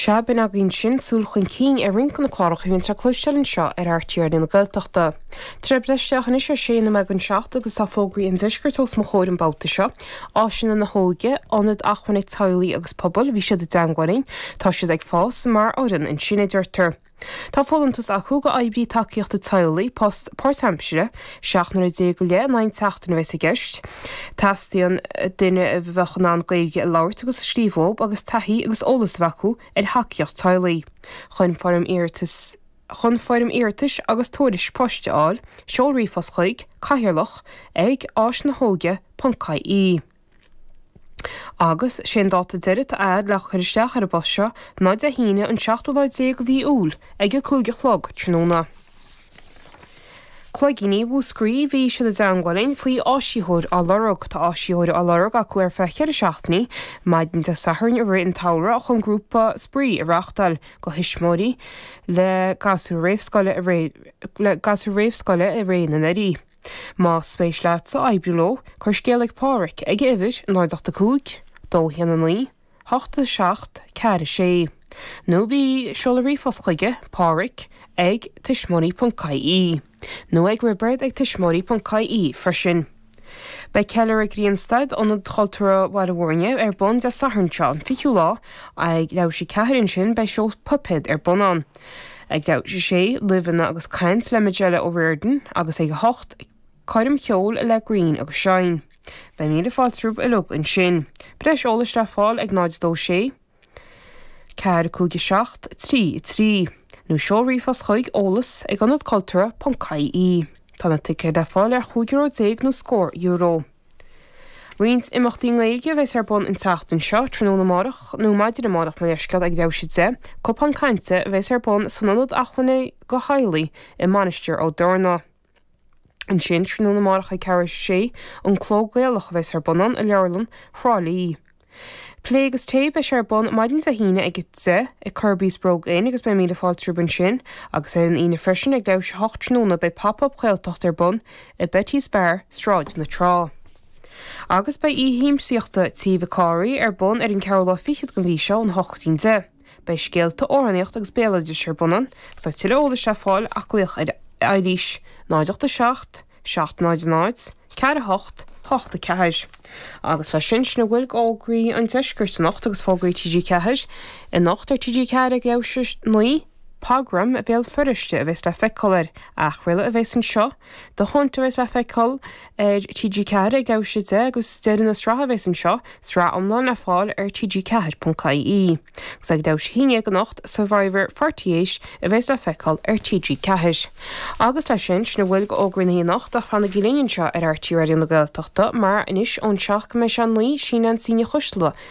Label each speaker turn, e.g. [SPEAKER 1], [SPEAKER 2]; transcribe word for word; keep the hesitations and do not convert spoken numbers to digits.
[SPEAKER 1] Sea, b'in againn sin súil chun cinn ar roinnt de na cláracha a bhíonn le cloisteáil anseo ar RTÉ Raidió na Gaeltachta. Tar éis breis isteach anois ar sé nóiméad don seacht agus tá fógraí an deiscirt os mo chomhair an babhta seo. Áiseanna na hÓige, ionad acmhainne teaghlaigh agus pobail, bhí siad i dteagmháil linn, tá siad ag fás mar fhoireann ansin a deirtear. Tá folúntas acu go oibrí tacaíochta teaghlaigh post páirtaimseartha seacht n-uaire déag go leith in aghaidh na seachtaine a bheas i gceist. Teastaíonn duine a bheadh in ann Gaeilge a labhairt agus a scríobh agus taithí agus eolas a bheith acu ar thacaíocht teaghlaigh. Chun foirm iarratais chun foirm iarratais agus tuairisc poist a fháil, seol ríomhphost chuig cathaoirleach ag áisnahóige ponc ie. Agus sé an dáta deiridh atá le cur isteach ar an bpost seo ná Dé hAoine an seachtú lá déag de mhí Iúil ag a cúig a chlog tráthnóna. Cloigíní Mhúscraí bhí siad i dteagmháil linn faoi áisitheoir á lorg tá áisitheoir á lorg acu ar feadh ceithre seachtainí, maidin Dé Sathairn i rith an tsamhraidh chun grúpa spraoi a reáchtáil do thuismitheoirí le gasúir réamhscoile le gasúir réamhscoile i rith na n-earraí. Más spéis leatsa oibriú leo, cuir scéal ag Páraic ag uimhir náid ocht a cúig, dó haon a naoi, hocht a seacht, ceathair a sé. Nó bí seol ríomhphost chuige Páraic ag tuismitheoirí.ie. Nó ag Roibeard ag tuismitheoirí.ie freisin. Beidh ceiliúradh Grianstad Ionad Cultúrtha Bhaile Bhúirne ar bun Dé Sathairn seo an fichiú lá ag leathuair tar éis a ceathair ansin beidh seó puipéad ar bun ann. Ag leathuair tar éis a sé luibheanna agus caint le Majella O'Riordan agus ag a hocht coirm cheoil le Green agus Shine. Beidh míle fáilte romhaibh uilig ansin. Breis eolais le fáil ag náid dó sé, ceathair cúig seacht trí trí, nó seol ríomhphost chuig eolas ag ionad cultúrtha ponc ie. Tá na ticéid le fáil ar chúig euro déag nó scór euro. Roinnt imeachtaí Gaeilge a bheas ar bun an tseachtain seo tráthnóna amárach nó maidin amárach mar leithscéal ag leathuair tar éis a deich, cupán cainte a bheas ar bun san ionad acmhainne do theaghlaigh i Mainistir Ó dTorna. Ansin tráthnóna amárach ag ceathrú tar éis a sé an Cló Gaelach a bheas ar bun ann i Leabharlann Thrá Lí. Plé agus tae beidh sé ar bun maidin Dé hAoine ag a deich i Kirby's Brogue Inn agus beidh míle fáilte romhaibh ansin, agus ar an Aoine freisin ag leathuair tar éis a hocht tráthnóna beidh pop-up Gaeltacht ar bun i Betty's Bar, Sráid na Trá. Agus beidh oíche shiamsaíochta Tí Mhic Cárthaigh ar bun ar an ceathrú lá fichead den mhí seo ón hocht go dtí an deich. Beidh scéalta amhránaíocht agus béaloideas ar bun ann, agus tá tuilleadh eolais le fáil ach glaoch ar Eilís náid ocht a seacht, seacht náid náid, ceathair a hocht, hocht a ceathair. Agus leis sin sin a bhfuil d'fhógraí an deiscirt anocht agus fógraí TG Ceathair anocht ar TG Ceathair ag leathuair tar éis a naoi, Pogram Bhéal Feirste a bheas le feiceáil ar athchraoladh a bheas anseo, The Hunt a bheas le feiceáil ar TG Ceathair ag leathuair tar éis a deich agus deireadh na sraithe a bheas anseo, sraith iomlán le fáil ar TG Ceathair ponc ie. Agus ag leathuair tar éis a haon déag anocht Survivor Forty Eight a bheas le feiceáil ar TG Ceathair. Agus leis sin sin a bhfuil d'fhógraí na anocht ach fanaigí linn anseo ar RTÉ Raidió na Gaeltachta mar anois ón seacht go mbeidh sé naoi sí Neansaí Ní Choisdealbha